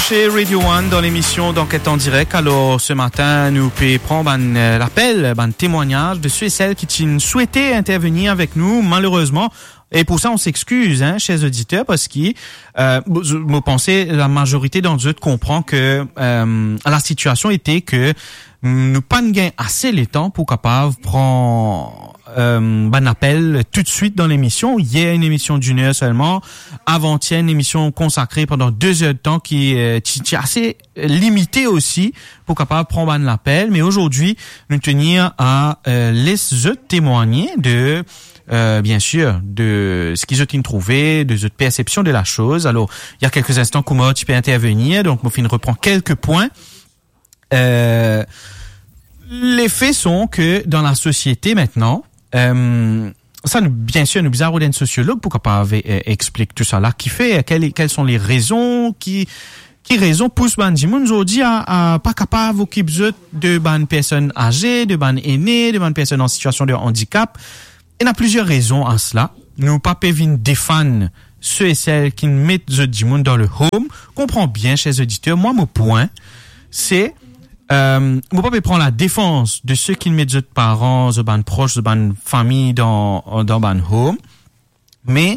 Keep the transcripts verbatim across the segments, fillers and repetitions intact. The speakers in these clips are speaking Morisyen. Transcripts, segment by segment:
Chez Radio One, dans l'émission d'Enquête en direct. Alors, ce matin, nou pe pran bann, euh, lapel, bann temwagnaz de ceux et celles ki ti swete intervenir avek nou. Malerezman, e pou sa, on s'excuse, hein, chers auditeurs, parski, euh, mo, mo panse lamazorite dan zot konpran ke, euh, lasitiasion ete ke, mm, nou pa'nn gagn ase letan pou kapav pran, euh, bann lapel toutswit dan lemision. Yer, enn emision d'enn er selman. Avan-yer, enn emision konsakre pandan de zer de tan ki, euh, ti, ti ase limite osi pou kapav pran bann lapel. Me azordi, nou tenir a, euh, les zot temwagne de, euh, bien sûr, de seki zot inn trouve, de zot persepsion de la chose. Alors, il y a quelques instants, Kouma ti pe intervenir, donk mo finn repran kelke pwin. Euh, les faits sont que dans la société maintenant, euh, sa nou, bien sûr, nou bizin rod enn sosiolog pou kapav, euh, explik tou sa la. Ki fer, quelles, quelles sont les raisons, ki, ki rezon pous bann dimoun zordi a, a pa kapav okip zot de bann personn aze, de bann ene, de bann personn an sitiasion de andikap? Ena plizier rezon a sela. Nou pa pe vinn defann se e sel ki met zot dimoun dan le home. Konpran bien, chers auditeurs, mwa mo pwin, se, euh, mo pa pe pran ladefans de seki met zot paran, zot bann pros, zot bann fami dan, dan bann home. Me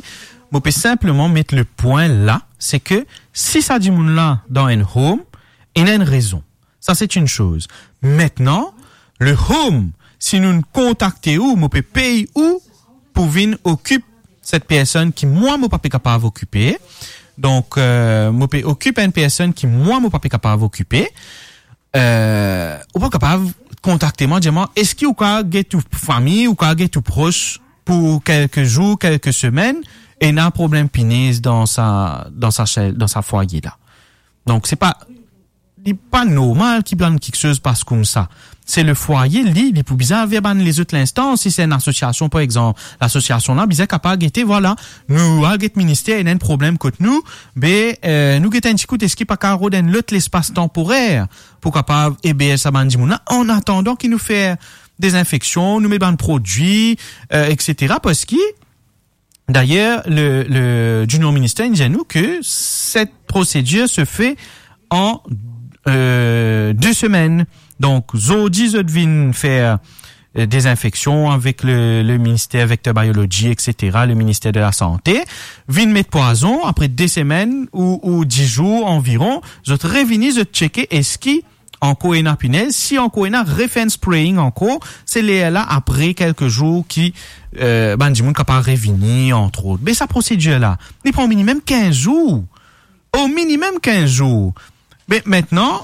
mo pe sinpleman met le pwin la, se ke si sa dimoun la dan enn home, ena enn rezon. Sa se enn soz. Aster, le home, si nou kontakte ou, mo pe pey ou pou vinn okip set personn ki mwa mo pa pe kapav okipe. Donk, euh, mo pe okip enn personn ki mwa mo pa pe kapav okipe. Euh, ou pa kapav kontakte mwa, dir mwa, eski ou kapav get ou fami, ou kapav get ou pros pou kelke zour, kelke semenn, ena problem pinez dan sa, dan sa sel, dan sa fwaye la. Donk, se pa, li pa normal ki bann kiksoz pas koumsa. Se le fwaye, li, li pou bizin al ver bann lezot linstans. Si se enn asosiasion, par exanp, lasosiasion la bizin kapav gete, vwala, nou al get minister, ena enn problem kot nou, be, euh, nou get enn ti kout, eski pa kapav rod enn lot lespas tanporer pou kapav eberz sa bann dimoun la, an atandan ki nou fer dezinfeksion, nou met bann prodwi, euh, et cetera. Parski, dayer, le, le Junior Minister inn dir nou ke set prosedir se fe an, euh, de semenn. Donk, zordi, zot vinn fer, euh, dezinfeksion avek le, le minister vector biology, et cetera, le minister de la sante, vinn met pwazon, apre de semenn ou, ou dis zour anviron, zot revini, zot tcheke eski ankor ena pinez, si ankor ena, refer enn spraying ankor, se ler la, apre kelke zour ki, euh, bann dimoun kapav revini, antrot. Be sa prosedir la, li pran minimem kinz zour. O minimem kinz zour. Be aster,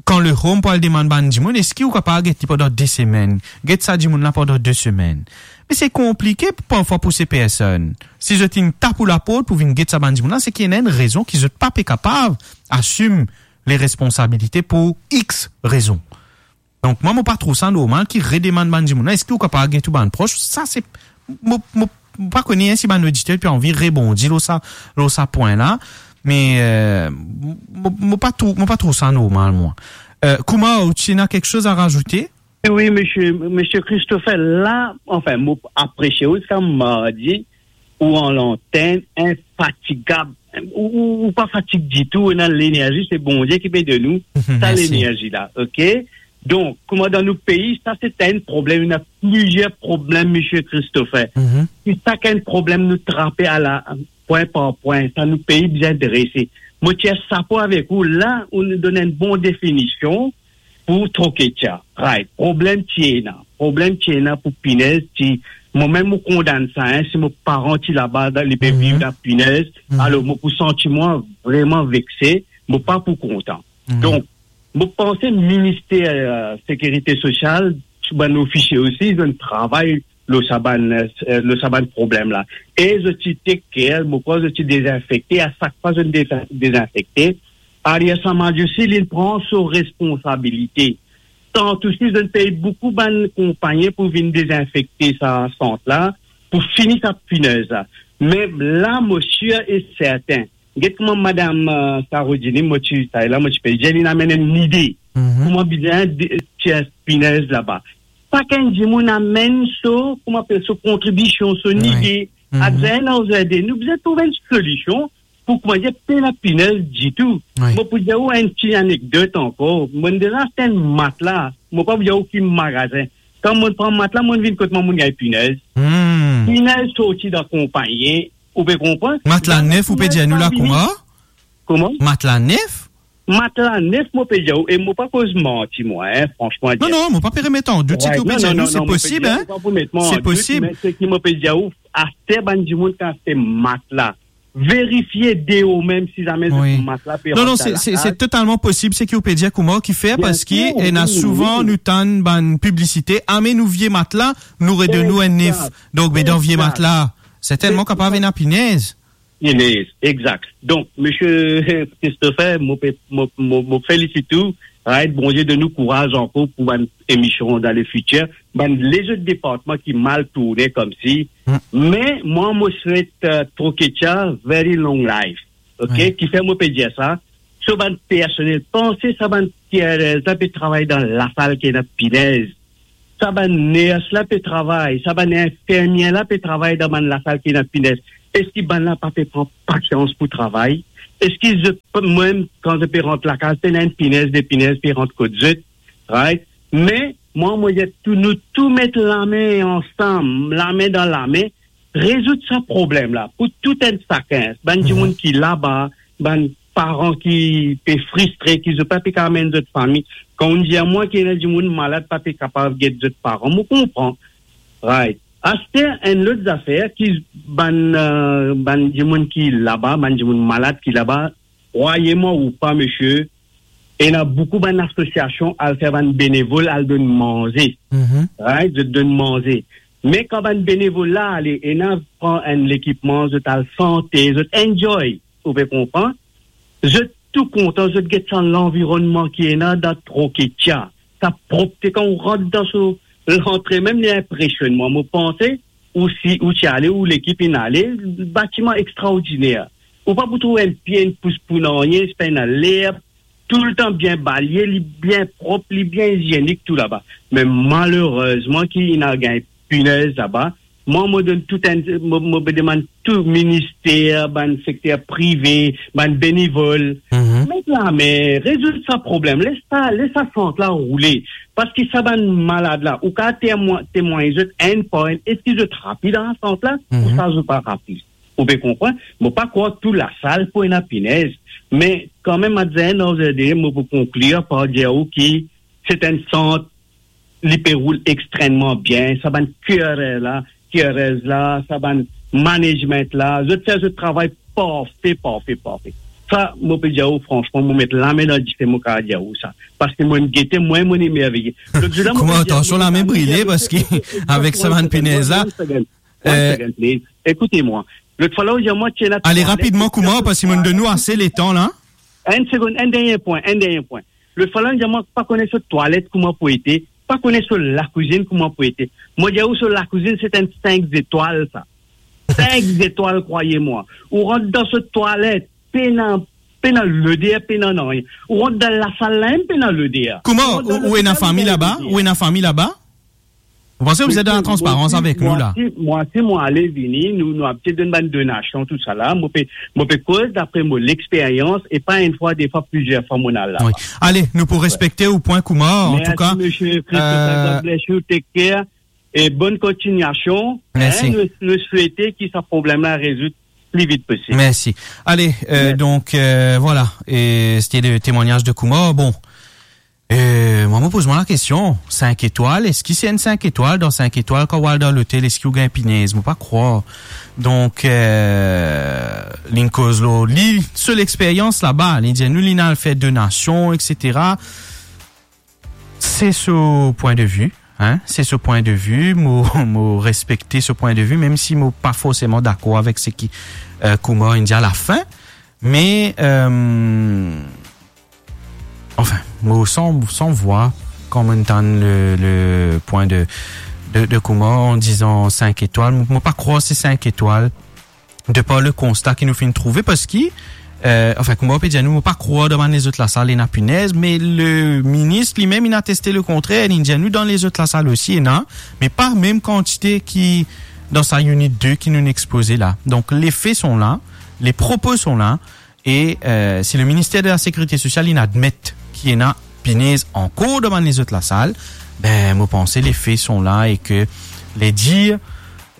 kan le home pou al demann bann dimoun, eski ou kapav get li pandan de semenn? Get sa dimoun la pandan de semenn. Me se konplike parfwa pou se personn. Si zot inn tap ou laport pou vinn get sa bann dimoun la, se ki ena enn rezon ki zot pa pe kapav asim le responsabilite pou X rezon. Donk, mwa, mo pa trouv sa normal ki redemann bann dimoun la, eski ou kapav get ou bann pros? Sa, se, mo, mo pa kone, hein, si bann oditer pe anvi rebondi lor sa, lor sa pwin la, me, euh, mo, mo pa trouv, mo pa trouv sa normal, mwa. Euh, Kouma, ou ti ena kiksoz a razoute? Wi, misie, misie Christopher, la, anfin, mo apresie ou, sa, mardi, ou an lantenn, infatigab. Ou, ou, ou pa fatig ditou, ou ena lenerzi, se Bondie ki pe donn ou sa lenerzi la, ok? Donk, kouma dan nou pei, sa se enn problem, ena plizier problem, misie Christopher. Si sakenn problem nou trape a la, pwin par pwin, sa nou pei bizin drese. Mo tir sapo avek ou, la, ou donn enn bon definision, pou troke tia. Right. Problem ti ena. Problem ti ena pou pinez ti, mo mem mo kondann sa, hein, si mo paran ti laba, dan, li pe viv dan pinez, alor mo pou santi mwa vreman vexe, mo pa pou kontan. Donk, mo panse minister, euh, sekirite sosial, tou bann ofisie osi, zot travay lor sa bann, euh, lor sa bann problem la. E zot ti take care, mo krwar zot ti dezinfekte, a sak fwa zot deza-, dezinfekte, Ariel Samadji osi, li pran so responsabilite. Tanto si zot pey boukou bann konpagni pou vinn dezinfekte sa sant la, pou fini sa pinez la. Me la, mo sir e serten, get kouma madam, euh, Sarodini, mo ti, sa la, mo ti pe dir, li amenn enn lide. Kouma bizin de, tir pinez laba. Sakenn dimoun amenn so, kouma apel, so kontribision, so lide. At the end of the day, nou bizin trouv enn solision pou koumadir, pena pinez ditou. Wi. Mo pou dir ou enn ti anekdot ankor. Mo'nn deza aste enn matla, mo pa pou dir ou ki magazin. Kan mo'nn pran matla, mo'nn vinn kot mwa, mo'nn gagn pinez. Hmm. Pinez sorti dan konpagni, ou pe konpran? Matla nef, ou pe dir nou la kouma? Kouma? Matla nef? Matla nef, mo pe dir ou, e mo pa koz manti, mwa, en, fransman dir. Non, non, mo pa pe remet an dout seki ou pe dir nou, se posib, en. Mo pa pou met mwa an dout, me seki mo pe dir ou, aster bann dimoun ki aste matla, verifie deor mem si zame zot matla pe rant dan lakaz. Non, non, se, se, se totalman posib seki ou pe dir kouma ki fer, parski ena souvan nou tann bann piblisite, amenn ou vie matla, nou redonn ou enn nef. Donk, be dan vie matla, sertennman kapav ena pinez. Pinez, exakt. Donk, misie Christopher, mo pe, mo, mo, mo felisit ou, right? Bondie donn ou kouraz ankor pou bann emision dan lefitir. Bann lezot departman ki mal tourne koumsi. Me mwa, mo swet, euh, Troketia very long life. Ok? Ki fer mo pe dir sa? So bann personel, panse sa bann carers la pe travay dan lasal ki ena pinez. Sa bann ners la pe travay, sa bann infermie la pe travay dan bann lasal ki ena pinez. Eski bann la pa pe pran pasians pou travay? Eski zot, mwa mem, kan zot pe rant lakaz, pena enn pinez, de pinez pe rant kot zot, right? Me mwa, mo dir tou, nou tou met lame ansam, lame dan lame, rezoud sa problem la, pou tou enn sakenn, bann dimoun ki laba, bann paran ki pe fristre, ki zot pa pe kapav amenn zot fami. Kan ou dir mwa ki ena dimoun malad pa pe kapav get zot paran, mo konpran. Right. Aster enn lot zafer ki bann, euh, bann dimoun ki laba, bann dimoun malad ki laba, krwar mwa ou pa, misie, ena boukou bann asosiasion al fer bann benevol, al donn manze. Right? Zot donn manze. Me kan bann benevol la ale, ena pran enn lekipman, zot al sante, zot enjoy, ou pe konpran? Zot tou kontan, zot get sa lanvironnman ki ena dan Troketia. Sa propte, kan ou rant dan so lantre mem, li inpresionn mwa. Mo panse ou si, ou ti ale, ou lekip inn ale, batiman extraordiner. Ou pa pou trouv enn pie, enn pous pou nanye, pena lerb, toultan bien balye, li bien prop, li bien izienik tou laba. Me malerezman ki inn al gagn pinez laba. Mwa, mo donn tou enn, mo, mo pe demann tou minister, bann sekter prive, bann benevol, met lame, rezoud sa problem, les sa, les sa sant la roule. Parski sa bann malad la, ou kapav temwa-, temwagn zot enn par enn, eski zot rapi dan lasant la, ouswa zot pa rapi. Ou pe konpran? Mo pa krwar tou lasal pou ena pinez, me kanmem, at the end of the day, mo pou konklir par dir ou ki se enn sant, li pe roul extremman bien. Sa bann carer la, carers la, sa bann management la, zot fer zot travay parfe, parfe, parfe. Sa, mo pe dir ou, fransman, mo met lame dan dife, mo kapav dir ou sa. Parski mo'nn gete, mwa, mo'nn emerveye. Lot zour la, mo... Kouma, pe dir atansion, ou, lame brile, parski avek sa bann pinez la. One second, one second, please. Ekoute mwa. Lot fwa la, ou dir mwa, ti ena... Ale rapidman, kouma, parski mo'nn donn nou ase letan la. Enn segonn, enn dernie pwin, enn dernie pwin. Lot fwa la, ou dir mwa, pa kone so twalet kouma pou ete, pa kone so lakwizinn kouma pou ete. Mo dir ou, so lakwizinn, se enn sink zetwal, sa. Sink zetwal, krwar mwa. Ou rant dan so twalet, pena, pena loder, pena nanye. Ou rant dan lasal la mem, pena loder. Kouma, ou, ou ena fami laba? Ou ena fami laba? Ou panse ou bizin dan latransparans avek nou la? Mwa, si, mwa, si mo ale vini, nou, nou abitie donn bann donasion, tousala. Mo pe, mo pe koz dapre mo lexperyans, e pa enn fwa, de fwa, plizier fwa mo'nn al laba. Wi. Ale, nou pou respekte ou pwin kouma, antouka. Mersi, misie Christopher, euh, God bless you, take care, e bonn kontignasion. Mersi. Hein, nou, nou swete ki sa problem la rezoud pli vit posib. Mersi. Ale, euh, donk, euh, vwala, e sete le temwagnaz de kouma. Bon, euh, mwa, mo poz mwa lakestion, sink etwal, eski se enn sink etwal? Dan sink etwal, kan ou al dan lotel, eski ou gagn pinez? Mo pa krwar. Donk, euh, linn koz lor li, so lexperyans laba, li dir nou, linn al fer donasion, et cetera. Se so pwin de vi, hein, se so pwin de vi, mo, mo respekte so pwin de vi, mem si mo pa forseman dakor avek seki, euh, kouma inn dir alafin, me, euh, anfin, mo san, san vwa kan mo'nn tann le, le pwin de, de, de kouma, an dizan sink etwal. Mo, mo pa krwar se sink etwal. De par le konsta ki nou finn trouve, parski, euh, anfin, kouma ou pe dir nou, mo pa krwar dan bann lezot lasal ena pinez, me le minis limem, inn ateste le kontrer, linn dir nou dan lezot lasal osi ena, me pa mem kantite ki dan sa unit de ki nou'nn expoze la. Donk, les faits sont là, les propos sont là, e, euh, si le ministère de la Sécurité sociale, il admet ki ena pinez ankor dan bann lezot lasal, ben, mo panse les faits sont là e ke les dires,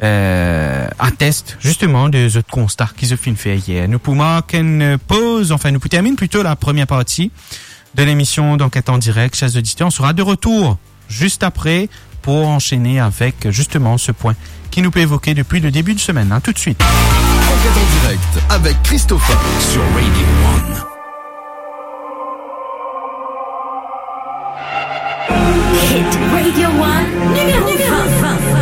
euh, attestent justement de zot konsta ki zot finn fer yer. Nou pou mark enn poz, enfin, nou pou termine plito la première partie de l'émission d'Enquête en direct. Chers auditeurs, on sera de retour juste après pour enchaîner avec justement ce point ki nou pe evoke depuis le début de semaine, hein. À tout de suite. Enquête en direct avec Christopher sur Radio One. Hit Radio One.